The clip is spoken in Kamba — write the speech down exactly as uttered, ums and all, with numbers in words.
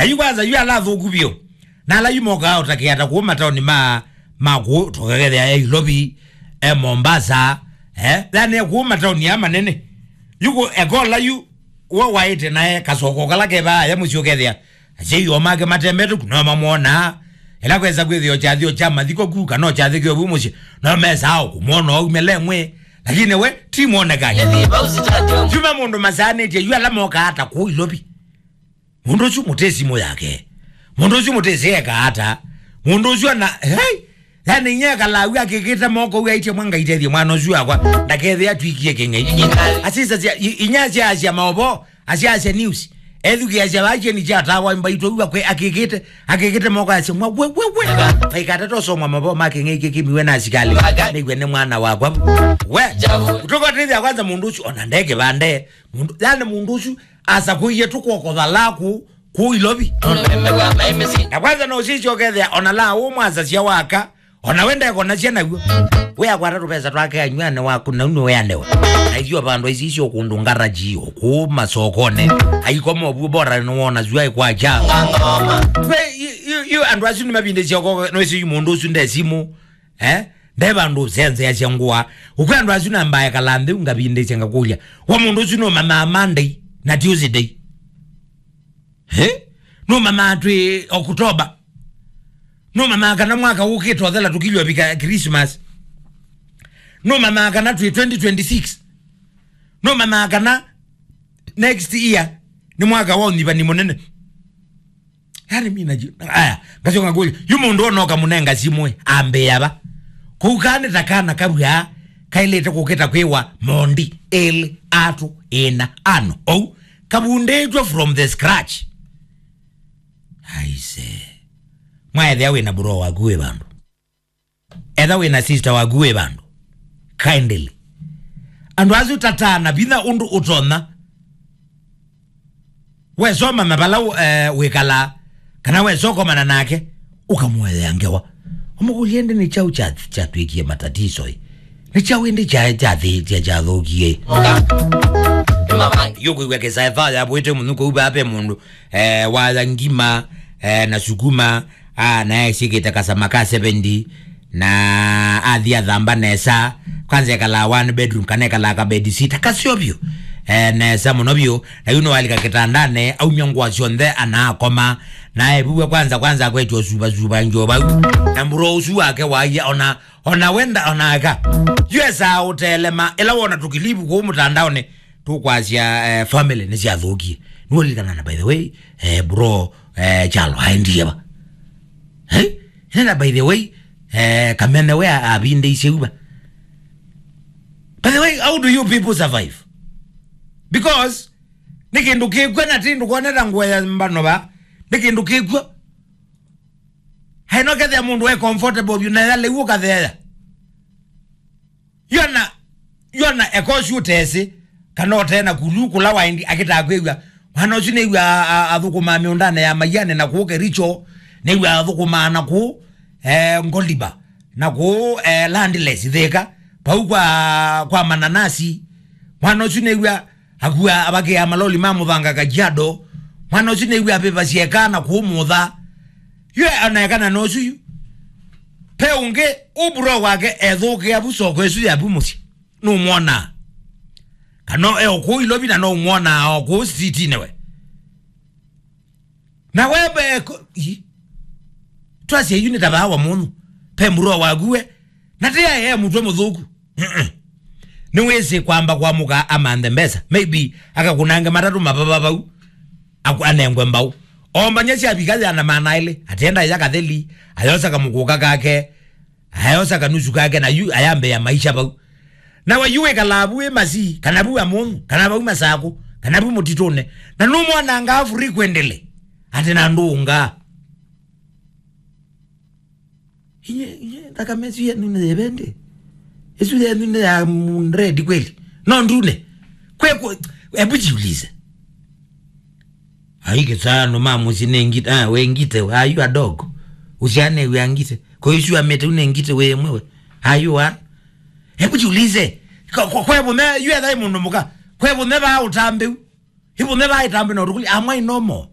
Na yu kwanza yu ala athũku vyũ. Na ala yu mokaa ũtakĩa ta kũu mataoni ma, ma kũu, tũkakethĩa e Ilovi, e Mombasa, eh? Yani e kũu mataoni ya manene. Yu kũ ekola yu, wo waĩte nae kasoko kala kevaa ya mũsyĩ ũkethĩa. Asyai o make matembete ku, no mamwonaa. Ĩla kwesa kwĩthĩo kyathĩo kya mathiko ku, kana o kyathĩ kĩovu mũsyĩ, no mesaa o kũmwona o umĩle mwĩ. Lakini we, ti mwonekani. Yuma mũndũ masaanĩtye, yu ala mokaa ata kũu Ilovi. Mũndũ ũsu mũtĩ simũ yake. Mũndũ ũsu mũtĩ sĩ eka ata. Mũndũ ũsu ana, hey! Yani, nye kalawi akĩkĩte moko, ũu aitye mwa Ngai tethie mwana ũsu wakwa, ndakethĩa atwikie kĩng'ei. Asisa cia, i-, inya cia, cia maovo, asia, asia news. Ethukia cia vakie ni cia tawa mbaitũ, ũu akwe-, akĩkĩte, akĩkĩte moko asia mwa, we, we, we. Vaikata tosoma maovo ma kĩng'ei kĩkĩmiwe na asikali. Nĩgwe nĩ mwana wakwa. We, kutoka tethia kwanza mũndũ ũsu, ona ndeke vande. Mũndũ, yani mũndũ ũsu, asakũie tũkwokotha laku kũu Ilovi. Na kwanza no sisyo kethĩa, ona la ũmwasasya waka, ona we ndekonasya naw'o. We akwata tũvesa twake anyw'ane waku, nau nĩweanĩwe. Na ithyĩ vandũ aisi icio kũndũ ngaraji, kũu masokone. Aikoma ũvuo bora nĩwona zua ikwakya. We, yu, yu, yu andũ asu nĩmavindĩsya ũko, no isi yu mũndũ ũsu nde simũ. Eh? Nde vandũ ũsenzeasya ngũa. Ũkwĩ andũ asu nambae kala nthĩ, ngavindĩsya ngakũlya. Wa mũndũ ũsu nũmanyaa Monday na Tuesday. Eh? Nũmanyaa twĩ October. Nũmanyaa kana mwaka ũkĩte ũthela tũkilyo vika Christmas. Nũmanyaa kana twĩ twenty twenty-six. Nũmanyaa kana next year nĩ mwaka wa ũnyivani mũnene. Yani mina ji-, aya, ngasyoka ngũlya, yu mũndũ onoka mũnenga simũ ĩ, ambĩa va. Kũu kaa nĩ ta kana kavw'aa, kaĩlĩte kũkĩta kwĩwa mondi, ĩlĩ, atũ, ĩna, ano. Ou, kavundĩtw'e from the scratch. Aise. Mwaethĩa wĩ na bro waku wĩ vandũ. Etha wĩ na sister waku wĩ vandũ. Kindly. Andũ asu tataa na vinya ũndũ ũtonya. Wesoma na vala, eh, wĩkalaa, kana wesokomana nake, ũkamũethea ngewa. Ũmũkũlye ĩndĩ nĩ kyaũ kya, kyatwĩkie matatiso ĩ? Nĩ kyaũ ĩndĩ kya, kya, kya, kyathũkie? Yũkwĩw'a kĩsaeva yavwĩte mũnu kũu vaa ve mũndũ, eh, waya ngima, eh, na sukuma, ah, na esikĩte kasama ka seventy, na athi athamba nesa, kwanza ekalaa one bedroom, kana ekalaa ka bed sita, kaseo vyũ, eh, nesa mũno vyũ, na yu nĩwalika kĩtandane, aumya ngũa syonthe, anaakoma, na evuwe kwanza, kwanza akwetya ũsuvasuva njo vau, na mburo ũsu wake waia, ona, ona wenda, ona aka, yu esaa ũteelema, ĩla wona tũkilivu kũu mũtandaonĩ, tũkwasya, eh, family nĩsyathũkie. Nĩwalilikana na, by the way, eh, bro, eh, Kyalo aendie va? Eh? Nena, by the way, eh, Kamene we a-, avindĩisye uva? By the way, how do you people survive? Because nĩ kĩndũ kĩkw'a na ti ndũkoneta ngũa ya mbano va. Nĩ kĩndũ kĩkw'a. Haino kethĩa mũndũ e comfortable vyũ na yale uo katheea. Yona, yona ekosi ũtesĩ, kana ũtee na kulu kũla waindi akĩtaa kwĩw'a. Mwana ũsu nĩw'a a-, a-, athũkũmaa mĩũndanĩ ya Maiane na kũu Kericho, nĩw'a athũkũmaa na kũu, eh, Ngoliba, na kũu, eh, Landless Thĩka, pau kwa, kwa mananasi. Mwana ũsu nĩw'a akua avakĩa maloli ma mũthanga Kajiado. Mwana ũsu nĩw'a avĩvasya eka na kũu mũtha. Yu anaekana na ũsu yu. Pe ũngĩ, ũburo wake ethũkĩa vu soko ĩsu ya vu mũsyĩ. Nũmwonaa. Kana e o kũu Ilovi na no ũmwonaa o kũu streetinĩ we. Na we be ko-, i. Twasye yu nĩ ta vaa wa mũndũ. Pe mburo waku we. Na ti ae e mũtwe mũthũku. Mm-mm. Nĩwĩsĩ kwamba kwamũka amanthe mbesa. Maybe akakũnange matatũ mavava vau. Aku-, anengwe mbau. Ombany'a syavika yana maana elĩ. Atenda ya katheli. Ayosa kamũkũka kake. Ayosa kanusu kake na yu ayambĩa maisha vau. Na we yu wĩkalaa vu wĩ Masii, kana vu Amũnyũ, kana vau Masakũ, kana vu mũtitũnĩ. Na nũmwanangaa frequently. Atĩ na ndũngaa. Inye, inye, thakame ĩsu yenyu nĩ yĩvĩndĩ? Ĩsu yenyu nĩ ya, mm, red kweli? No ndune? Kwe, kwe, hebu jiulize. Ai, kĩsano ma mũsyĩ nĩ ngite, ah, wĩ ngite, are you a dog? Ũsiane wĩ ngite. Kwa hiyo ĩsu amete une ngite wĩ mwewe. Are you one? Hebu jiulize. Kwa, kwa, kwe vũme, yu etha ĩ mũndũ mũka. Kwe vũme va ũtambĩu. Ĩ vũme va ĩtambĩ na ũtukuli, am I normal?